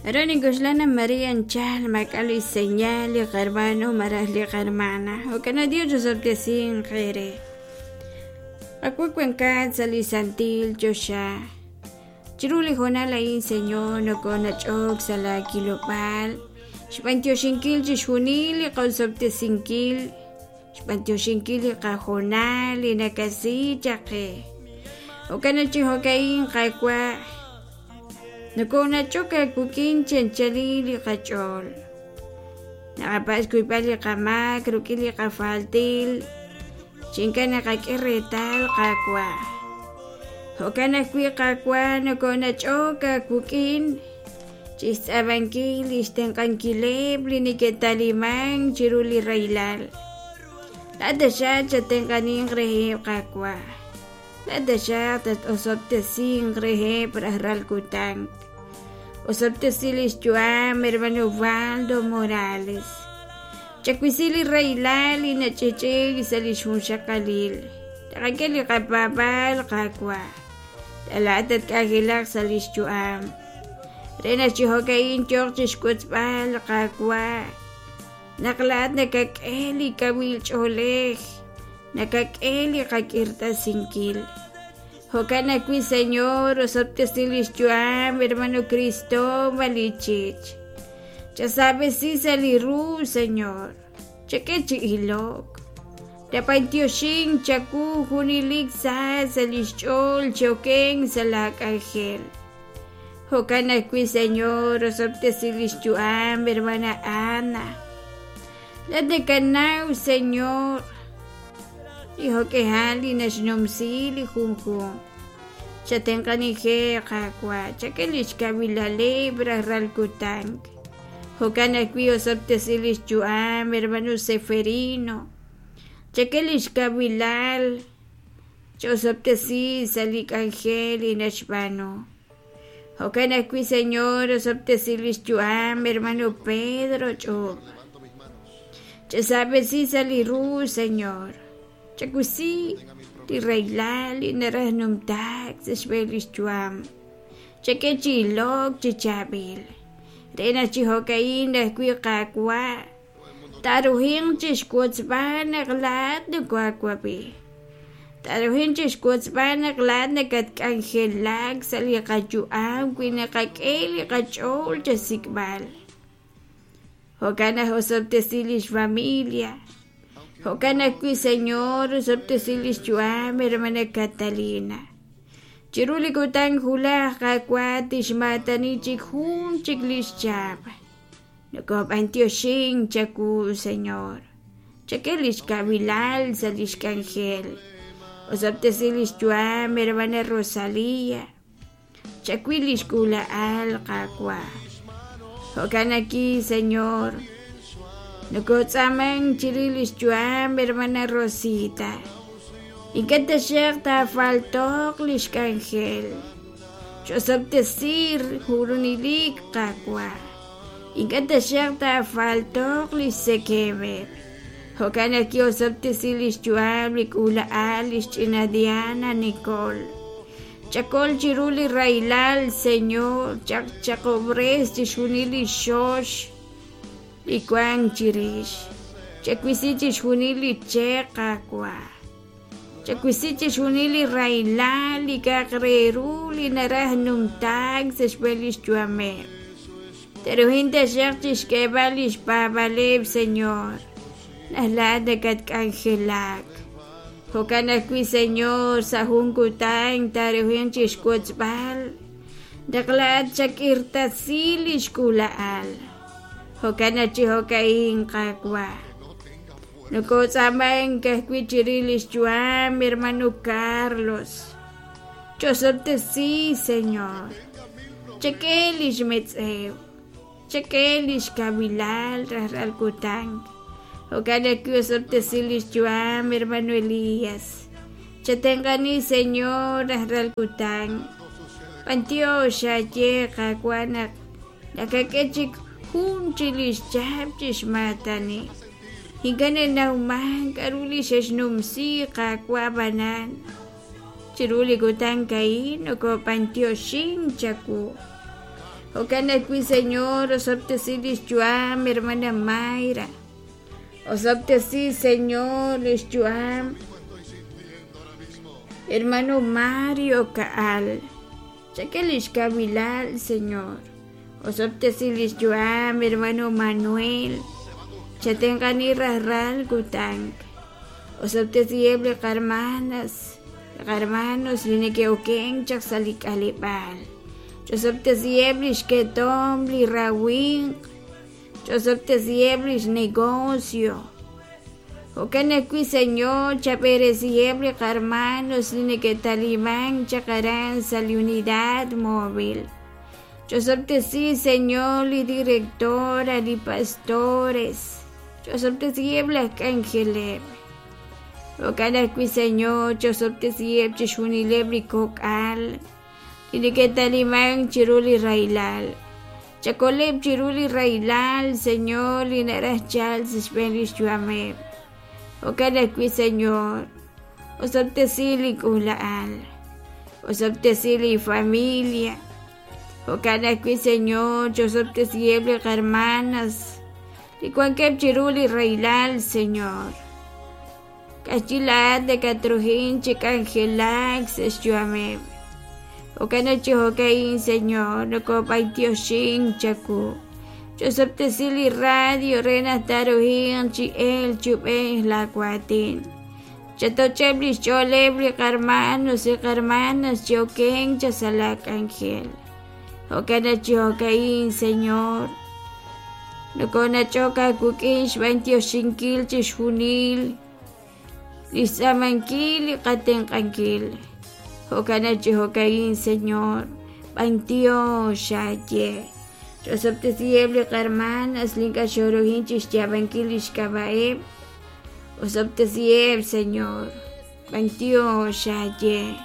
Aran nink'oxla naq mare anchal maak'a' li xseñal li qahermano malaj li qahermana. Jo'kan naq Dios osob'tesinq eere. Qawa' wankat sa' li santil choxa. Chiru li hoonal a'in, Señor, nokonach'ok sa' laa kilob'aal xb'antioxinkil chixjunil li qosob'tesinkil, xb'antioxinkil li qahoonal li nakasi chaq qe. Jo'kan naq chi jo'ka'in, Qaawa', nokonach'ok aawik'in chi anchalil li qach'ool. Naqapatz' xkuyb'al li qamaak rik'in li qafaltil chi ink'a' naqak'e reetal, Qaawa'. Jo'kan ajwi', Qaawa', nokonach'ok aawik'in chixtz'aamankil lix tenq'ankileb' li neke'talimank chiru li rahilal. Laa'at taxaq chattenq'aninq reheb', Qaawa'. Laa'at taxaq tat-osob'tesinq reheb' rajlal kutan. Osob'tesi lix yu'am hermano Waldo Morales. Chawisi li rahilal li nach'ich'ik sa' lix junxaqalil. Taqak'e li qapaab'aal, Qaawa'. Laa'at tatk'anjelaq sa' lix yu'am. Re naq chi jo'ka'in yooq chixwotzb'al, Qaawa', naq laa'at nakak'e li kawil ch'oolej, nakak'e li qak'irtasinkil. Jo'kan ajwi', Señor, osob'tesi lix yu'am hermano Cristóbal Ichich. Chasaab'esi sa' li ru, Señor. Chak'e chi ilok. Tapantioxink chawu junelik sa sa' lix ch'ool chi okenk sa' laa k'anjel. Jo'kan ajwi', Señor, osob'tesi lix yu'am hermana Ana. Laa'at nakanaw, Señor, li jo'k'ihal li naxnumsi li junjunq. Chatenq'anijeb', Qaawa', chak'e lix kawilaleb' rajlal kutan. Jo'kan ajwi' osob'tesi lix yu'am hermano Seferino. Chak'e lix kawilal, ch'osob'tesi sa' li k'anjel li naxb'aanu. Jo'kan ajwi', Señor, osob'tesi lix yu'am hermano Pedro Ch'ub'. Chasab'esi sa' li ru, Señor. Chawisi li rahilal li naraj numtaak sa' xb'een lix yu'am. Chak'e chi ilok chi chaab'il. Re naq chi jo'ka'in ajwi' Qaawa', Taaruhinq chixwotzb'al naq laa'at nokohaawab'i. Taaruhinq chixwotzb'al naq laa'at nakatk'anjelak sa' li qayu'am wi naqak'e li qach'ool chasik'b'al. Jo'kan naq osob'tesi lix familia. Jo'kan ajwi', Señor, osob'tesi lix yu'am hermana Catalina. Chiru li kutan wulaj, Qaawa' tixmaatani chik jun chik lix chihab'. Nokob'antioxink chawu, Señor. Chak'e lix kawilal sa' lix k'anjel. Osob'tesi lix yu'am, hermana Rosalía. Chawil lix k'uula'al, Qaawa'. Jo'kan aki, Señor. Nokotz'aamank chirix lix yu'am, hermana Rosita. Ink'a' taxaq taafalto'q lix k'anjel. Ch'osob'tesi jurunilik, Qaawa'. Ink'a' taxaq taafalto'q li xtzekemeb'. Jo'kan naq ki'osob'tesi li xyu'am li k'uula'al li xch'ina Diana Nicole. Chakol chiru li rahilal, Señor, chaq chaqob'res chixjunil li xox li wank chirix. Chawisi chixjunil li che', Qaawa'. Chawisi chixjunil li rahilal, li k'a'aq re ru li naraj numtaak sa' xb'een lix yu'ameb'. Te'ruhin taxaq chixk'eeb'al lix paab'aaleb', Señor, naq laa'at nakatk'anjelak. Jo'kan ajwi', Señor, sa' jun kutan taaruhin chixwotzb'al naq laa'at xak'irtasi lix k'uula'al. Jo'kan naq chi jo'ka'in, Qaawa'. Nokotz'aamank ajwi' chirix lix yu'am hermano Carlos. Ch'osob'tesi, Señor. Chak'e lix metz'ew. Chak'e lix kawilal rajlal kutan. Jo'kan ajwi' osob'tesi lix yu'am hermano Elías. Chatenq'ani, Señor, rajlal kutan. B'antiox aaye, Qaawa' naq nakak'e chik jun chi lix chahab' chixmaatani. Ink'a' nanawmank k'aru li xe'xnumsi Qaawa' ab'anan chiru li kutan a'in nokob'antioxink chawu. Jo'kan ajwi', Señor, osob'tesi lix yu'am hermana Mayra. Osob'tesi, Señor, lix yu'am hermano Mario Ka'al. Chak'e lix kawilal, Señor. Osob'tesi lix yu'am hermano Manuel. Chatenq'ani rajlal kutan. Osob'tesiheb' li qarmanas, li qarmanos li neke'okenk chaq sa' li k'aleb'aal. Ch'osob'tesiheb' lix ketomq, li rawimq. Ch'osob'tesiheb' lix negocio. Jo'kan ajwi', Señor, chab'eresiheb' li qarmanos li neke'talimank chaq aran sa' li unidad móvil. Ch'osob'tesi, Señor, li directora, li pastores. Ch'osob'tesiheb' laj k'anjeleb'. Jo'kan ajwi', Señor, ch'osob'tesiheb' chixjunileb' li kok'al li neke'talimank chiru li rahilal. Chakoleb' chiru li rahilal, Señor, li naraj chalk sa' xb'een lix yu'ameb'. Jo'kan ajwi', Señor, osob'tesi li k'uula'al, osob'tesi li familia. Jo'kan ajwi', Señor, chosob'tesiheb' li qarmanas li wankeb' chiru li rahilal, Señor. K'axyi laa'at nakatruhin chi k'anjelak sa' xyu'ameb'. Jo'kan naq chi jo'ka'in, Señor, nokob'antioxink chawu. Ch'osob'tesi li radio re naq taaruhinq chi elk chi ub'ej laa waatin. Chatoch'eb' lix ch'ooleb' li qarmanos li qarmanas chi okenk chaq sa' laa k'anjel. Jo'kan naq chi jo'ka'in, Señor, nokonach'ok aawik'in xb'antioxinkil chixjunil li xtz'aamankil li qatenq'ankil. Jo'kan naq chi jo'ka'in, Señor, b'antiox aaye. Ch'osob'tesiheb' li qarmanas li ink'a' xooruhin chixyaab'ankil lix k'ab'a'eb'. Osob'tesiheb', Señor. B'antiox aaye.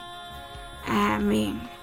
Amén.